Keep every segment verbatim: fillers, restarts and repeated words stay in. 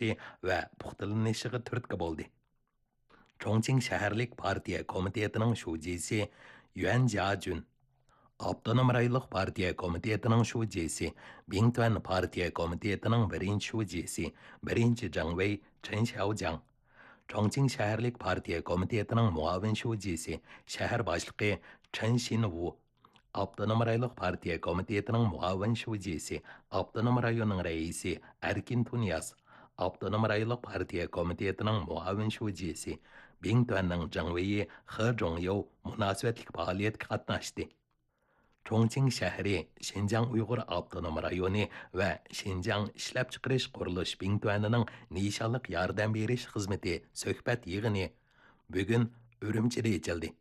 ئېچىشى ۋە پۇختىلىنىشىغا تۈرتكە بولدى. چۇڭچىڭ شەھەرلىك پارتىيە كومىتېتىنىڭ شۇجىسى يۈەن جياجۈن، ئاپتونوم رايونلۇق پارتىيە كومىتېتىنىڭ شۇجىسى، بىڭتۈەن پارتىيە كومىتېتىنىڭ بىرىنچى شۇجىسى، بىرىنچى جاڭۋېي چېن شياۋجياڭ، چۇڭچىڭ شەھەرلىك پارتىيە كومىتېتىنىڭ مۇئاۋىن شۇجىسى، شەھەر باشلىقى چېن شىنۋۇ، ئاپتونوم رايونلۇق پارتىيە كومىتېتىنىڭ مۇئاۋىن شۇجىسى، ئاپتونوم رايوننىڭ رەئىسى ئەركىن تۇنىياز، ئاپتونوم رايونلۇق پارتىيە كومىتېتىنىڭ مۇئاۋىن شۇجىسى، بىڭتۈەننىڭ جاڭۋېيى خې جۇڭيوۋ مۇناسىۋەتلىك پائالىيەتكە قاتناشتى. چۇڭچىڭ شەھىرى، شىنجاڭ ئۇيغۇر ئاپتونوم رايونى ۋە شىنجاڭ ئىشلەپچىقىرىش قۇرۇلۇش بىڭتۈەنىنىڭ نىشانلىق ياردەم بېرىش خىزمىتى سۆھبەت يىغىنى بۈگۈن ئۈرۈمچىدە ئېچىلدى.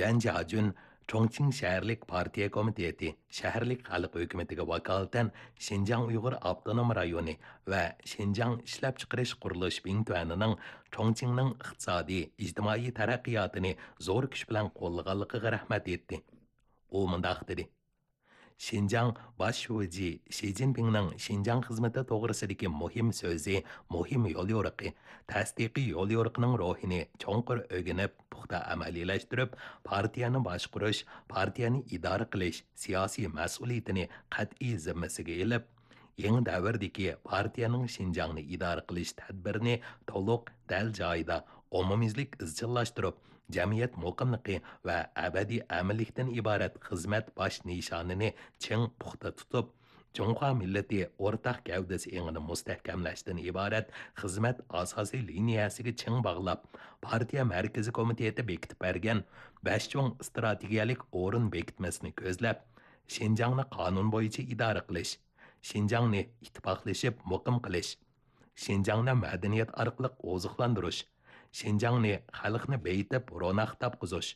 يۈەن جياجۈن چۇڭچىڭ شەھەرلىك پارتىيە كومىتېتى شەھەرلىك خەلق ھۆكۈمىتىگە ۋاكالىتەن شىنجاڭ ئۇيغۇر ئاپتونوم رايونى ۋە شىنجاڭ ئىشلەپچىقىرىش قۇرۇلۇش بىڭتۈەنىنىڭ چۇڭچىڭنىڭ ئىقتىسادىي، ئىجتىمائىي تەرەققىياتىنى زور كۈچ بىلەن قوللىغانلىقىغا رەھمەت ئېيتتى. ئۇ مۇنداق دېدى: شىنجاڭ باش شۇجى شى جىنپىڭنىڭ شىنجاڭ خىزمىتى توغرىسىدىكى مۇھىم سۆزى، مۇھىم يوليورۇقى، تەستىقىي يوليورۇقىنىڭ روھىنى چوڭقۇر ئۆگىنىپ، پۇختا ئەمەلىيلەشتۈرۈپ، پارتىيەنى باشقۇرۇش، پارتىيەنى ئىدارە قىلىش سىياسىي مەسئۇلىيىتىنى قەتئىي زىممىسىگە ئېلىپ، يېڭى دەۋردىكى پارتىيەنىڭ شىنجاڭنى ئىدارە قىلىش تەدبىرىنى تولۇق، دەل جايىدا، ئومۇميۈزلۈك ئىزچىللاشتۇرۇپ، جەمئىيەت مۇقىملىقى ۋە ئەبەدىي ئەمىنلىكتىن ئىبارەت خىزمەت باش نىشانىنى چىڭ پۇختا تۇتۇپ، جۇڭخۇا مىللىتى ئورتاق گەۋدىسى ئېڭىنى مۇستەھكەملەشتىن ئىبارەت خىزمەت ئاساسىي لىنىيەسىگە چىڭ باغلاپ، پارتىيە مەركىزىي كومىتېتى بېكىتىپ بەرگەن بەش چوڭ ئىستراتېگىيەلىك ئورۇن بېكىتمىسىنى كۆزلەپ، شىنجاڭنى قانۇن بويىچە ئىدارە قىلىش، شىنجاڭنى ئىتتىپاقلىشىپ مۇقىم قىلىش، شىنجاڭنى مەدەنىيەت ئارقىلىق ئوزۇقلاندۇرۇش، شىنجاڭنى خەلقنى بېيىتىپ روناق تاپقۇزۇش،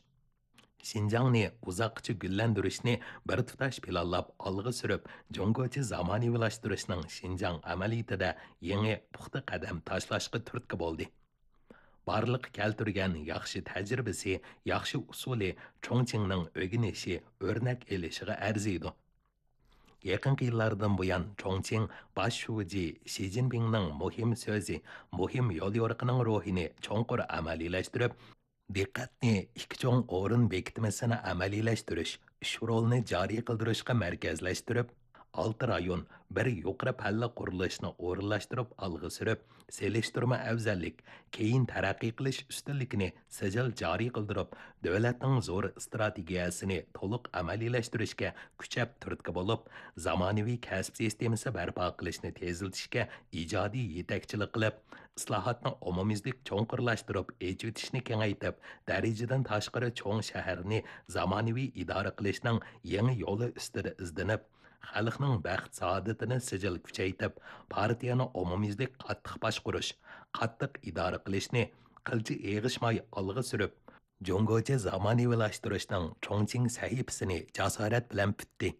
شىنجاڭنى ئۇزاققىچە گۈللەندۈرۈشنى بىر تۇتاش پىلانلاپ ئالغا سۈرۈپ، جۇڭگوچە زامانىۋىلاشتۇرۇشنىڭ شىنجاڭ ئەمەلىيىتىدە يېڭى پۇختا قەدەم تاشلاشقا تۈرتكە بولدى. بارلىققا كەلتۈرگەن ياخشى تەجرىبىسى، ياخشى ئۇسۇلى چۇڭچىڭنىڭ ئۆگىنىشى، ئۆرنەك ئېلىشىغا ئەرزىيدۇ. يېقىنقى يىللاردىن بۇيان، چۇڭچىڭ باش شۇجى شى جىنپىڭنىڭ مۇھىم سۆزى، مۇھىم يوليورۇقىنىڭ روھىنى چوڭقۇر ئەمەلىيلەشتۈرۈپ، دىققەتنى ئىككى چوڭ ئورۇن بېكىتمىسىنى ئەمەلىيلەشتۈرۈش، ئۈچ رولنى جارى قىلدۇرۇشقا مەركەزلەشتۈرۈپ، ئالتە رايون، بىر يۇقىرى پەللە قۇرۇلۇشنى ئورۇنلاشتۇرۇپ ئالغا سۈرۈپ، سېلىشتۇرما ئەۋزەللىك، كېيىن تەرەققىي قىلىش ئۈستۈنلۈكىنى سىجىل جارى قىلدۇرۇپ، دۆلەتنىڭ زور ئىستراتېگىيەسىنى تولۇق ئەمەلىيلەشتۈرۈشكە كۈچەپ تۈرتكە بولۇپ، زامانىۋى كەسىپ سىستېمىسى بەرپا قىلىشنى تېزلىتىشكە ئىجادىي يېتەكچىلىك قىلىپ، ئىسلاھاتنى ئومۇميۈزلۈك چوڭقۇرلاشتۇرۇپ، ئېچىۋېتىشنى كېڭەيتىپ، دەرىجىدىن تاشقىرى چوڭ شەھەرنى زامانىۋى ئىدارە قىلىشنىڭ يېڭى يولى ئۈستىدە ئىزدىنىپ، خەلقنىڭ بەخت-سائادىتىنى سىجىل كۈچەيتىپ، پارتىيەنى ئومۇميۈزلۈك قاتتىق باشقۇرۇش، قاتتىق ئىدارە قىلىشنى قىلچە ئېغىشماي ئالغا سۈرۈپ، جۇڭگوچە زامانىۋىلاشتۇرۇشنىڭ چۇڭچىڭ سەھىپىسىنى جاسارەت بىلەن پۈتتى.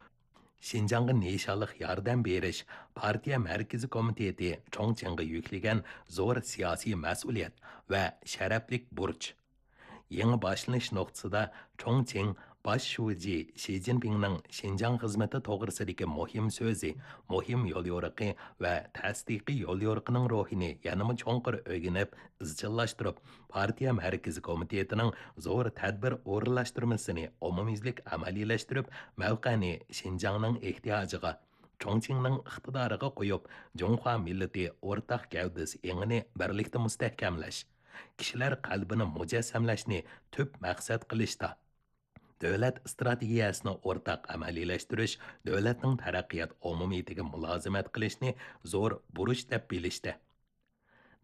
شىنجاڭغا نىشانلىق ياردەم بېرىش پارتىيە مەركىزىي كومىتېتى چۇڭچىڭغا يۈكلىگەن زور سىياسىي مەسئۇلىيەت ۋە شەرەپلىك بۇرچ. يېڭى باشلىنىش نۇقتىسىدا چۇڭچىڭ باش شۇجى شى جىنپىڭنىڭ شىنجاڭ خىزمىتى توغرىسىدىكى مۇھىم سۆزى، مۇھىم يوليورۇقى ۋە تەستىقىي يوليورۇقىنىڭ روھىنى يەنىمۇ چوڭقۇر ئۆگىنىپ، ئىزچىللاشتۇرۇپ، پارتىيە مەركىزىي كومىتېتىنىڭ زور تەدبىر ئورۇنلاشتۇرمىسىنى ئومۇميۈزلۈك ئەمەلىيلەشتۈرۈپ، مەۋقەنى شىنجاڭنىڭ ئېھتىياجىغا، چۇڭچىڭنىڭ ئىقتىدارىغا قويۇپ، جۇڭخۇا مىللىتى ئورتاق گەۋدىسى ئېڭىنى بىرلىكتە مۇستەھكەملەش، كىشىلەر قەلبىنى مۇجەسسەملەشنى تۈپ مەقسەت قىلىشتا، دۆلەت ئىستراتېگىيەسىنى ئورتاق ئەمەلىيلەشتۈرۈش، دۆلەتنىڭ تەرەققىيات ئومۇمىيىتىگە مۇلازىمەت قىلىشنى زور بۇرچ دەپ بىلىشتە،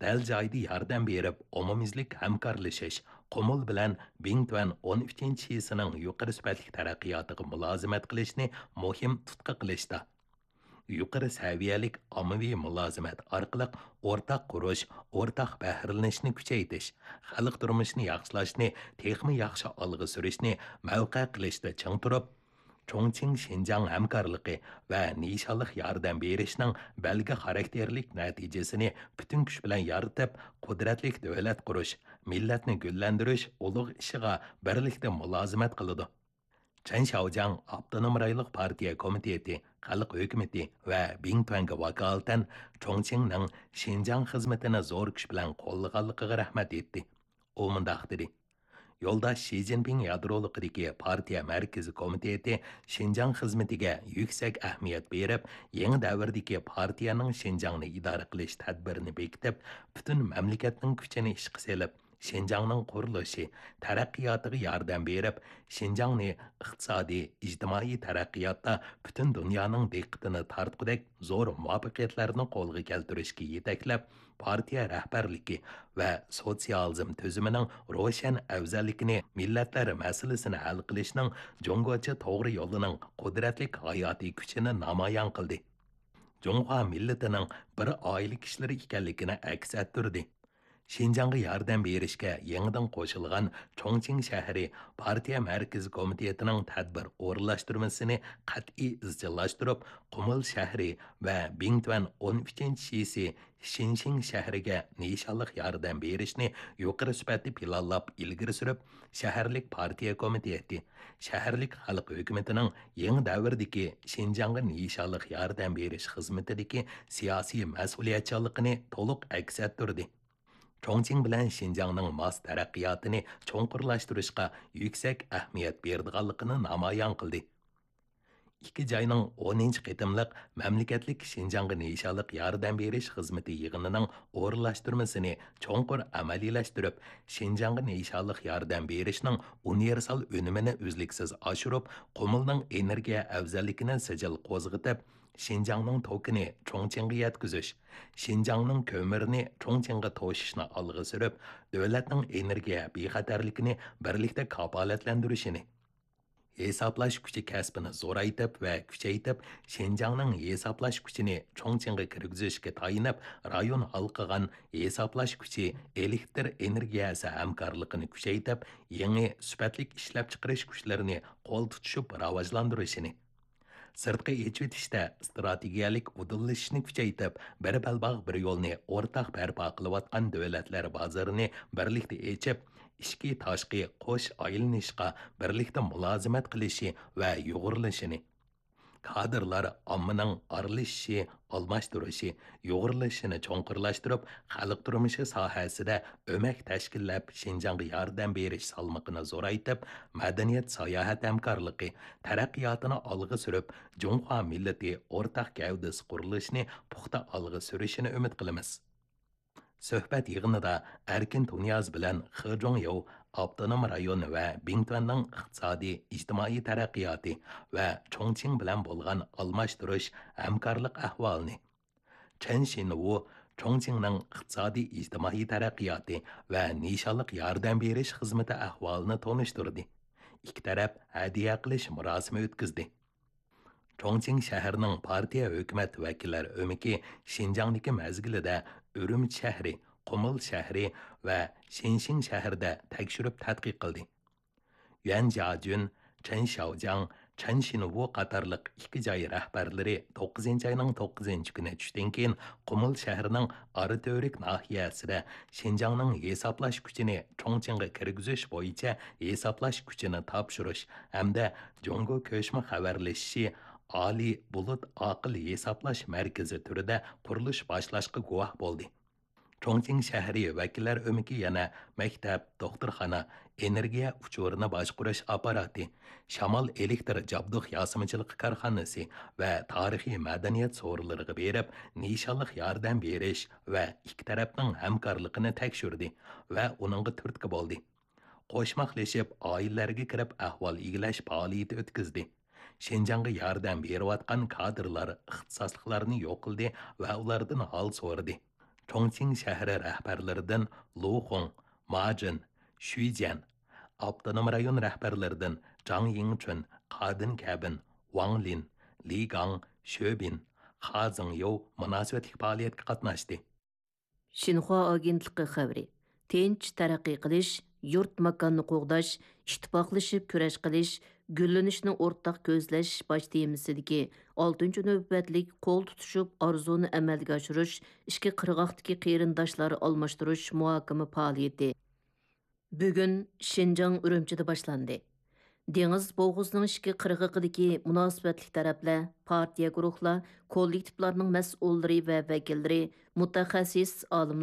دەل جايىدا ياردەم بېرىپ، ئومۇميۈزلۈك ھەمكارلىشىش، قۇمۇل بىلەن بىڭتۈەن ئون ئۈچىنچى شىسىنىڭ يۇقىرى سۈپەتلىك تەرەققىياتىغا مۇلازىمەت قىلىشنى مۇھىم تۇتقا قىلىشتا، يۇقىرى سەۋىيەلىك ئاممىۋى مۇلازىمەت ئارقىلىق ئورتاق قۇرۇش، ئورتاق بەھرىلىنىشنى كۈچەيتىش، خەلق تۇرمۇشىنى ياخشىلاشنى تېخىمۇ ياخشى ئالغا سۈرۈشنى مەۋقە قىلىشتا چىڭ تۇرۇپ، چۇڭچىڭ شىنجاڭ ھەمكارلىقى ۋە نىشانلىق ياردەم بېرىشنىڭ بەلگە خاراكتېرلىك نەتىجىسىنى پۈتۈن كۈچ بىلەن يارىتىپ، قۇدرەتلىك دۆلەت قۇرۇش، مىللەتنى گۈللەندۈرۈش ئۇلۇغ ئىشىغا بىرلىكتە مۇلازىمەت قىلىدۇ. چېن شياۋجياڭ ئاپتونوم رايونلۇق پارتىيە كومىتېتى، خەلق ھۆكۈمىتى ۋە بىڭتۈەنگە ۋاكالىتەن چۇڭچىڭنىڭ شىنجاڭ خىزمىتىنى زور كۈچ بىلەن قوللىغانلىقىغا رەھمەت ئېيتتى. ئۇ مۇنداق دېدى: يولداش شى جىنپىڭ يادرولۇقىدىكى پارتىيە مەركىزىي كومىتېتى شىنجاڭ خىزمىتىگە يۈكسەك ئەھمىيەت بېرىپ، يېڭى دەۋردىكى پارتىيەنىڭ شىنجاڭنى ئىدارە قىلىش تەدبىرىنى بېكىتىپ، پۈتۈن مەملىكەتنىڭ كۈچىنى ئىشقا سېلىپ، شىنجاڭنىڭ قۇرۇلۇشى، تەرەققىياتىغا ياردەم بېرىپ، شىنجاڭنى ئىقتىسادىي، ئىجتىمائىي تەرەققىياتتا پۈتۈن دۇنيانىڭ دىققىتىنى تارتقۇدەك زور مۇۋەپپەقىيەتلەرنى قولغا كەلتۈرۈشكە يېتەكلەپ، پارتىيە رەھبەرلىكى ۋە سوتسىيالىزم تۈزۈمىنىڭ روشەن ئەۋزەللىكىنى، مىللەتلەر مەسىلىسىنى ھەل قىلىشنىڭ جۇڭگوچە توغرا يولىنىڭ قۇدرەتلىك ھاياتىي كۈچىنى نامايان قىلدى. جۇڭخۇا مىللىتىنىڭ بىر ئائىلە كىشىلىرى ئىكەنلىكىنى ئەكس ئەتتۈردى. شىنجاڭغا ياردەم بېرىشكە يېڭىدىن قوشۇلغان چۇڭچىڭ شەھىرى پارتىيە مەركىزىي كومىتېتىنىڭ تەدبىر ئورۇنلاشتۇرمىسىنى قەتئىي ئىزچىللاشتۇرۇپ، قۇمۇل شەھىرى ۋە بىڭتۈەن ئون ئۈچىنچى شىسى شىنشىڭ شەھىرىگە نىشانلىق ياردەم بېرىشنى يۇقىرى سۈپەتتە پىلانلاپ ئىلگىرى سۈرۈپ، شەھەرلىك پارتىيە كومىتېتى، شەھەرلىك خەلق ھۆكۈمىتىنىڭ يېڭى دەۋردىكى شىنجاڭغا نىشانلىق ياردەم بېرىش خىزمىتىدىكى سىياسىي مەسئۇلىيەتچانلىقىنى تولۇق ئەكس ئەتتۈردى. چۇڭچىڭ بىلەن شىنجاڭنىڭ ماس تەرەققىياتىنى چوڭقۇرلاشتۇرۇشقا يۈكسەك ئەھمىيەت بېرىدىغانلىقىنى نامايان قىلدى. ئىككى جاينىڭ ئونىنچى قېتىملىق مەملىكەتلىك شىنجاڭغا نىشانلىق ياردەم بېرىش خىزمىتى يىغىنىنىڭ ئورۇنلاشتۇرمىسىنى چوڭقۇر ئەمەلىيلەشتۈرۈپ، شىنجاڭغا نىشانلىق ياردەم بېرىشنىڭ ئۇنىۋېرسال ئۈنۈمىنى ئۈزلۈكسىز ئاشۇرۇپ، قۇمۇلنىڭ ئېنېرگىيە ئەۋزەللىكىنى سىجىل قوزغىتىپ، شىنجاڭنىڭ توكىنى چۇڭچىڭغا يەتكۈزۈش، شىنجاڭنىڭ كۆمۈرىنى چۇڭچىڭغا توشۇشنى ئالغا سۈرۈپ، دۆلەتنىڭ ئېنېرگىيە بىخەتەرلىكىنى بىرلىكتە كاپالەتلەندۈرۈشىنى، ھېسابلاش كۈچى كەسپىنى زورايتىپ ۋە كۈچەيتىپ، شىنجاڭنىڭ ھېسابلاش كۈچىنى چۇڭچىڭغا كىرگۈزۈشكە تايىنىپ، رايون ھالقىغان ھېسابلاش كۈچى ئېلېكتر ئېنېرگىيەسى ھەمكارلىقىنى كۈچەيتىپ، يېڭى سۈپەتلىك ئىشلەپچىقىرىش كۈچلىرىنى قول تۇتۇشۇپ راۋاجلاندۇرۇشىنى، سىرتقا ئېچىۋېتىشتە ئىستراتېگىيەلىك ئۇدۇللىشىشنى كۈچەيتىپ، بىر بەلباغ، بىر يولنى ئورتاق بەرپا قىلىۋاتقان دۆلەتلەر بازىرىنى بىرلىكتە ئېچىپ، ئىچكى، تاشقى قوش ئايلىنىشقا بىرلىكتە مۇلازىمەت قىلىشى ۋە يۇغۇرۇلۇشىنى، كادىرلار ئاممىنىڭ ئارىلىشىشى، ئالماشتۇرۇشى، يۇغۇرۇلۇشىنى چوڭقۇرلاشتۇرۇپ، خەلق تۇرمۇشى ساھەسىدە ئۆمەك تەشكىللەپ، شىنجاڭغا ياردەم بېرىش سالمىقىنى زورايتىپ، مەدەنىيەت، ساياھەت ھەمكارلىقى تەرەققىياتىنى ئالغا سۈرۈپ، جۇڭخۇا مىللىتى ئورتاق گەۋدىسى قۇرۇلۇشىنى پۇختا ئالغا سۈرۈشىنى ئۈمىد قىلىمىز. سۆھبەت يىغىنىدا ئەركىن تۇنىياز بىلەن خې جۇڭياۋ ئاپتونوم رايون ۋە بىڭتۈەننىڭ ئىقتىسادىي، ئىجتىمائىي تەرەققىياتى ۋە چۇڭچىڭ بىلەن بولغان ئالماشتۇرۇش، ھەمكارلىق ئەھۋالىنى، چېن شىنۋۇ چۇڭچىڭنىڭ ئىقتىسادىي، ئىجتىمائىي تەرەققىياتى ۋە نىشانلىق ياردەم بېرىش خىزمىتى ئەھۋالىنى تونۇشتۇردى. ئىككى تەرەپ ھەدىيە قىلىش مۇراسىمى ئۆتكۈزدى. چۇڭچىڭ شەھىرىنىڭ پارتىيە ھۆكۈمەت ۋەكىللەر ئۆمىكى شىنجاڭدىكى مەزگىلىدە ئۈرۈمچى شەھىرى، قۇمۇل شەھىرى ۋە شىنشىڭ شەھىرىدە تەكشۈرۈپ تەتقىق قىلدى. يۈەن جياجۈن، چېن شياۋجياڭ، چېن شىنۋۇ قاتارلىق ئىككى جاي رەھبەرلىرى توققۇزىنچى ئاينىڭ توققۇزىنچى كۈنى چۈشتىن كېيىن قۇمۇل شەھىرىنىڭ ئاراتۈۋرۈك ناھىيەسىدە شىنجاڭنىڭ ھېسابلاش كۈچىنى چۇڭچىڭغا كىرگۈزۈش بويىچە ھېسابلاش كۈچىنى تاپشۇرۇش ھەمدە جۇڭگو كۆچمە خەۋەرلىشىشى ئالىي بۇلۇت ئاقىل ھېسابلاش مەركىزى تۈرىدە قۇرۇلۇش باشلاشقا گۇۋاھ بولدى. چۇڭچىڭ شەھىرى ۋەكىللەر ئۆمىكى يەنە مەكتەپ، دوختۇرخانا، ئېنېرگىيە ئۇچۇرىنى باشقۇرۇش ئاپپاراتى، شامال ئېلېكتر جابدۇق ياسىمىچىلىقى كارخانىسى ۋە تارىخىي مەدەنىيەت سورۇنلىرىغا بېرىپ، نىشانلىق ياردەم بېرىش ۋە ئىككى تەرەپنىڭ ھەمكارلىقىنى تەكشۈردى ۋە ئۇنىڭغا تۈرتكە بولدى. قوشماقلىشىپ، ئائىلىلەرگە كىرىپ ئەھۋال ئىگىلەش پائالىيىتى ئۆتكۈزدى. شىنجاڭغا ياردەم بېرىۋاتقان كادىرلار ئىختىساسلىقلارنى يوقلىدى ۋە ئۇلاردىن ھال سورىدى. چۇڭچىڭ شەھىرى رەھبەرلىرىدىن لۇ خۇڭ، ما جىن، شۈي جيەن، ئاپتونوم رايون رەھبەرلىرىدىن جاڭ يىڭچۈن، قادىن كەبىن، ۋاڭ لىن، لى گاڭ، شۆ بىن، خا زېڭيوۋ مۇناسىۋەتلىك پائالىيەتكە قاتناشتى. شىنخۇا ئاگېنتلىقى خەۋىرى. تىنچ تەرەققىي قىلىش، يۇرت ماكاننى قوغداش، ئىتتىپاقلىشىپ كۈرەش قىلىش، گۈللىنىشنى ئورتاق كۆزلەش باش تېمىسىدىكى ئالتىنچى نۆۋەتلىك قول تۇتۇشۇپ ئارزۇنى ئەمەلگە ئاشۇرۇش، ئىككى قىرغاقتىكى قېرىنداشلار ئالماشتۇرۇش مۇھاكىمە پائالىيىتى بۈگۈن شىنجاڭ ئۈرۈمچىدە باشلاندى. دېڭىز بوغۇزىنىڭ ئىچكى قىرغىقىدىكى مۇناسىۋەتلىك تەرەپلەر، پارتىيە، گۇرۇھلار، كوللېكتىپلارنىڭ مەسئۇللىرى ۋە ۋەكىللىرى، مۇتەخەسسىس ئالىملار،